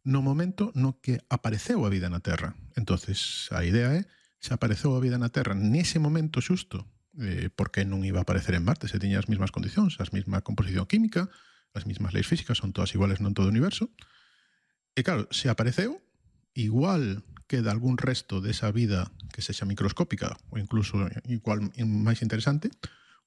no momento no que apareceu a vida na Terra. Entonces, a idea é, se apareceu a vida na Terra nese momento xusto, por que non iba a aparecer en Marte? Se tiña as mesmas condicións, as mesma composición química, as mesmas leis físicas, son todas iguales non todo o universo. E claro, se apareceu, igual queda algún resto desa vida que sexa microscópica ou incluso igual máis interesante,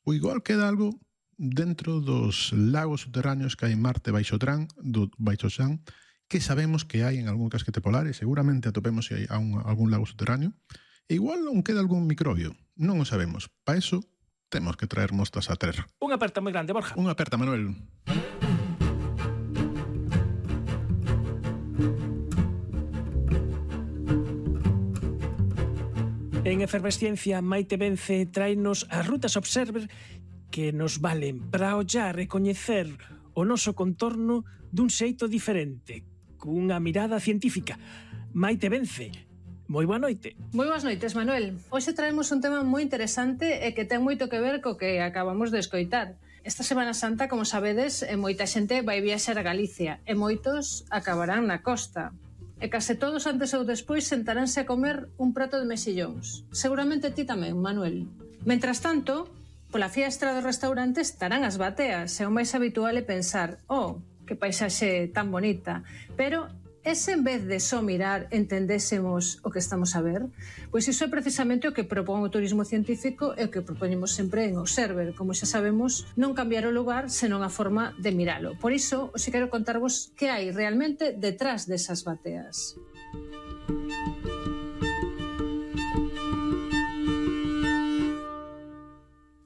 ou igual queda algo dentro dos lagos subterráneos que hai en Marte baixo Xan, que sabemos que hai en algún casquete polar e seguramente atopemos se hai algún lago subterráneo. E igual non queda algún microbio, non o sabemos. Para eso temos que traer mostras á Terra. Unha aperta moi grande, Borja. Unha aperta, Manuel. En Efervesciencia, Maite Vence tráenos as rutas Observer que nos valen para ollar e coñecer o noso contorno dun xeito diferente, cunha mirada científica. Maite Vence, moi boa noite. Moi boas noites, Manuel. Hoxe traemos un tema moi interesante e que ten moito que ver co que acabamos de escoitar. Esta Semana Santa, como sabedes, moita xente vai viaxar a Galicia e moitos acabarán na costa. E case todos antes ou despois sentaránse a comer un prato de mexillóns. Seguramente ti tamén, Manuel. Mentras tanto, pola fiestra dos restaurantes estarán as bateas e o máis habitual é pensar que paisaxe tan bonita, pero ese en vez de só mirar entendésemos o que estamos a ver? Pois iso é precisamente o que propón o turismo científico e o que propoñemos sempre en Observer. Como xa sabemos, non cambiar o lugar senón a forma de miralo. Por iso, hoxe quero contarvos que hai realmente detrás desas bateas.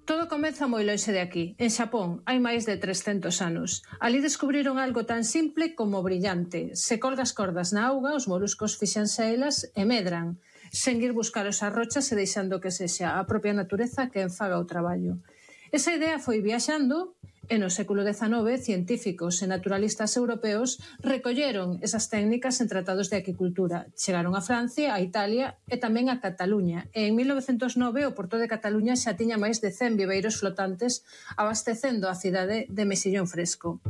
Todo comeza moi lonxe de aquí. En Xapón hai máis de 300 anos. Ali descubriron algo tan simple como brillante. Se colgas cordas na auga, os moluscos fixanse a elas e medran, sen ir buscar os arrochas e deixando que sexa a propia natureza que enfaga o traballo. Esa idea foi viaxando e no século XIX científicos e naturalistas europeos recolleron esas técnicas en tratados de aquicultura. Chegaron a Francia, a Italia e tamén a Cataluña. E en 1909 o Porto de Cataluña xa tiña máis de 100 viveiros flotantes abastecendo a cidade de mexillón fresco.